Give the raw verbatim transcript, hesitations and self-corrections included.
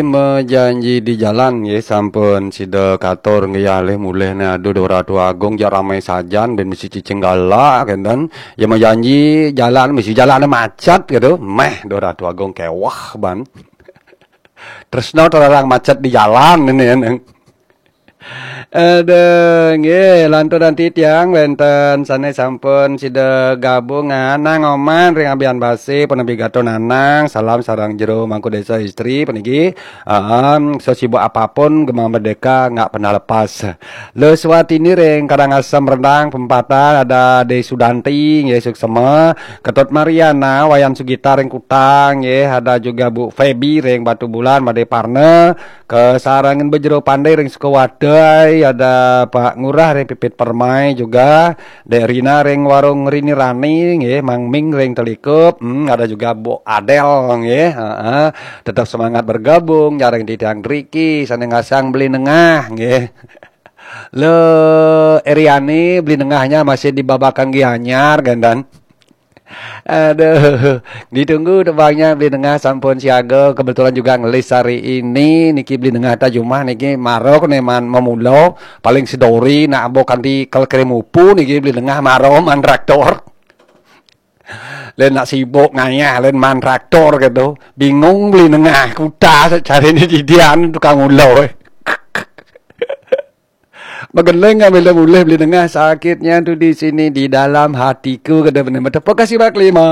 Mejanji di jalan nggih, sampun sida katur nggih, alih mulih ne, aduh, Ratu Agung, jak ramai sajan, ben mesti cicing galak kenten. Ya mejanji jalan, mesti jalan macet gitu. Meh, duh, Ratu Agung kewah ban. Tresno terlarang macet di jalan ini, ini. Aduh, nggih, lantur nanti tiang wenten sane sampun sida gabung, Nanang Oman ring Abian Base, penebi Gato Nanang, salam sareng jero Mangku Desa Istri, peniki, um, sesibuk apapun Gema Merdeka nggak pernah lepas. Leswatini ring Karangasem Rendang, Pempatan, ada De Sudanti, nggih, suksema, Ketut Mariana, Wayan Sugita ring Kutang, nggih, ada juga Bu Feby ring Batu Bulan, Made Parna, Kasarengin Bejero Pandai ring Sukawadai, ada Pak Ngurah ring Pipit Permai juga, Dek Rina ring Warung Rini Rani, nggih, Mang Ming ring Telikup, hmm, ada juga Bu Adel, nggih, heeh. Tetap semangat bergabung, nyareng titiang driki, sane ngasang Beli Nengah, nggih. Le Eriani, Beli Nengahnya masih di Babakan Gianyar, Gandan. Aduh, ditunggu tebangnya Beli Nengah sampun siaga. Kebetulan juga ngelis hari ini. Niki Beli Nengah ta jumah niki maro kene man memulo. Paling sedori nak ambo kanti kal krim upu niki Beli Nengah maro man traktor. Len nak sibuk ngayah len man traktor gitu. Bingung Beli Nengah kuta cari ni didian tukang ulo. Mageleng ambil mulih Beli Nengah, sakitnya tu di sini di dalam hatiku, kata benar. Terima kasih Mak Lima.